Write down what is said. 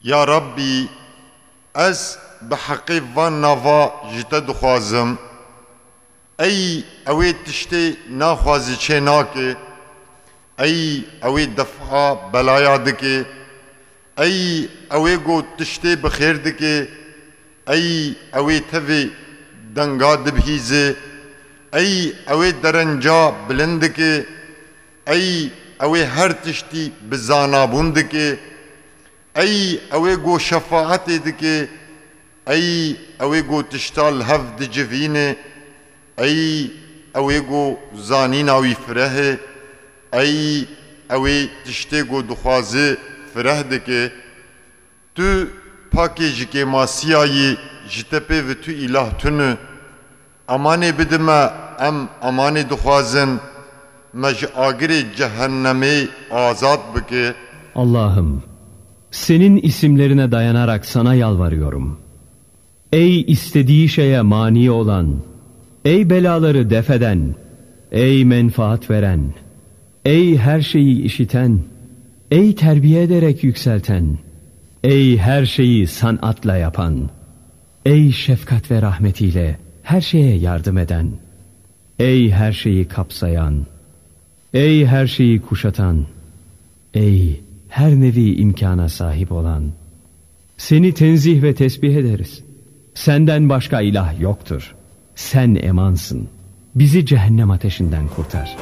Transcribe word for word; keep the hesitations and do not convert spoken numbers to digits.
Ya Rabbî, ez bi heqê van nava ji te dixwazim. Ey ew ê tiştê naxwazî çê nake. Ey ew ê defa belaya dike. Ey ew ê ku tiştê bi xêr dike. Ey ew ê tevê denga dibihîze. Ey ew ê derenca bilind dike. Ey ew ê her tiştî bi zanabûn dike. Ey ew ê ku şefaetê dike. Ey ew ê ku tişta li hev dicivîne. Ey ew ê ku zanîna wî fireh e. Ey ew ê tiştê ku dixwaze fireh dike. Tu pakê ji kêmasiya yî, ji te pê ve tu îlah tune. Emanê bide me, em emanê dixwazin, me ji agirê cehennemê azad bike. Allah'ım, senin isimlerine dayanarak sana yalvarıyorum. Ey istediği şeye mani olan, ey belaları def eden, ey menfaat veren, ey her şeyi işiten, ey terbiye ederek yükselten, ey her şeyi sanatla yapan, ey şefkat ve rahmetiyle her şeye yardım eden, ey her şeyi kapsayan, ey her şeyi kuşatan, ey her nevi imkana sahip olan. Seni tenzih ve tesbih ederiz. Senden başka ilah yoktur. Sen emansın. Bizi cehennem ateşinden kurtar.